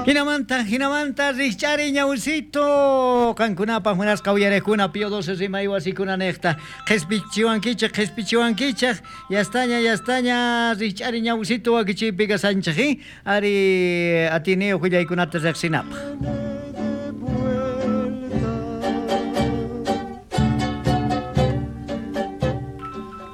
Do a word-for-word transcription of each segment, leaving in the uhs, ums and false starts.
Jinamanta, jinamanta, rikch'ari ñawsito, qankunapaq munasqa uyariqkuna Pío doce rimay wasikuna niqta, qhispichiwankichik, qhispichiwankichik, yastaña, yastaña, rikch'ari ñawsito wakichiypi kasanchik, ari atiniyuq willaykunata riqsinapaq.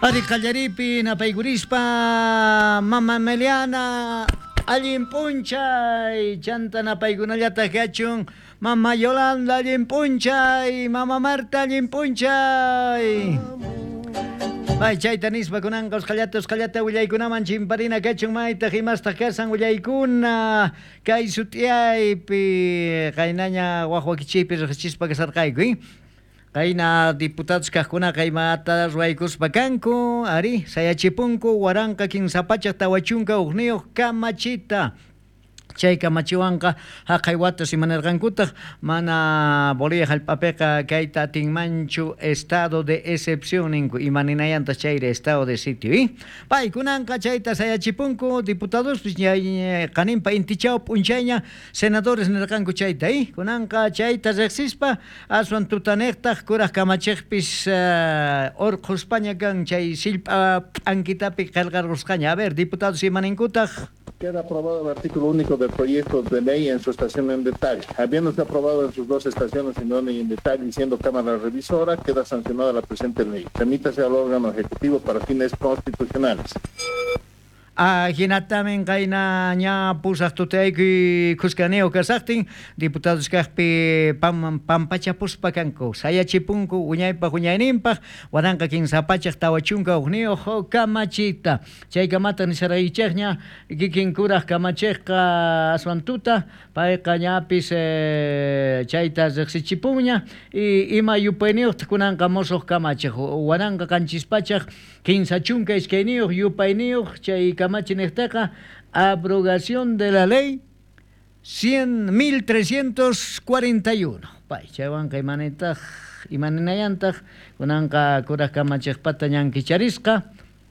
Ari qallaripi napaykurispa mama Meliana allin p'unchay, chanta napaykunallataq kachun, mama Yolanda allin p'unchay, mama Marta allin p'unchay. Ay, chayta nispa kunanqa usqhallata usqhallata willaykunaman chimparina kachun, maytaq imastaq kasan willaykuna kay sut'iyaypi qaynaña waj wakichiypi riqsichispa kasarqayku, eh? Qayna diputados kaqkunaqa imata ruwaykuspa kanku, ari sayachipunku waranqa kinsa pachak tawa chunka hukniyuq kamachita. Chay kamachiwanqa haqay watas imanirqankutaq mana Bolivia hallp'apiqa kayta atinmanchu estado de excepción ninku, imaninayantaq chayri estado de sitio, eh? Paykunanqa chayta sayachipunku diputadospis qaninpa intichaw p'unchayña senadores nirqanku chayta, eh? Kunanqa chayta riqsispa aswan tutaniqtaq kuraq kamachiqpis uh, urqhuspaña kan chay sillp'a p'ankitapi qillqarqusqaña. A ver, diputados imaninkutaq. Queda aprobado el artículo único del proyecto de ley en su estación en detalle. Habiéndose aprobado en sus dos estaciones en orden y en detalle y siendo Cámara Revisora, queda sancionada la presente ley. Remítase al órgano ejecutivo para fines constitucionales. Ajinatamin qayna ña pusaq tutaykuy khuskaniyuq kasaqtin diputados kaqpi pam, pampachapuspa kanku sayachipunku wiñaypaq wiñayninpaq waranqa kinsa pachak tawa chunka hukniyuq kamachita. Chay kamata nisaraychikña kikin kuraq kamachiqqa aswan tuta payqa ñapis eh, chayta riqsichipunña y ima yupayniyuqtaq kunanqa musuq kamachiq waranqa qanchis pachak kinsa chunka iskayniyuq yupayniyuq chay kamachi niqtaqa abrogación de la ley cien mil trescientos cuarenta y uno. Pay chaywanqa imanitaq imaninayantaq kunanqa kuraq kamachiqpata ñankicharisqa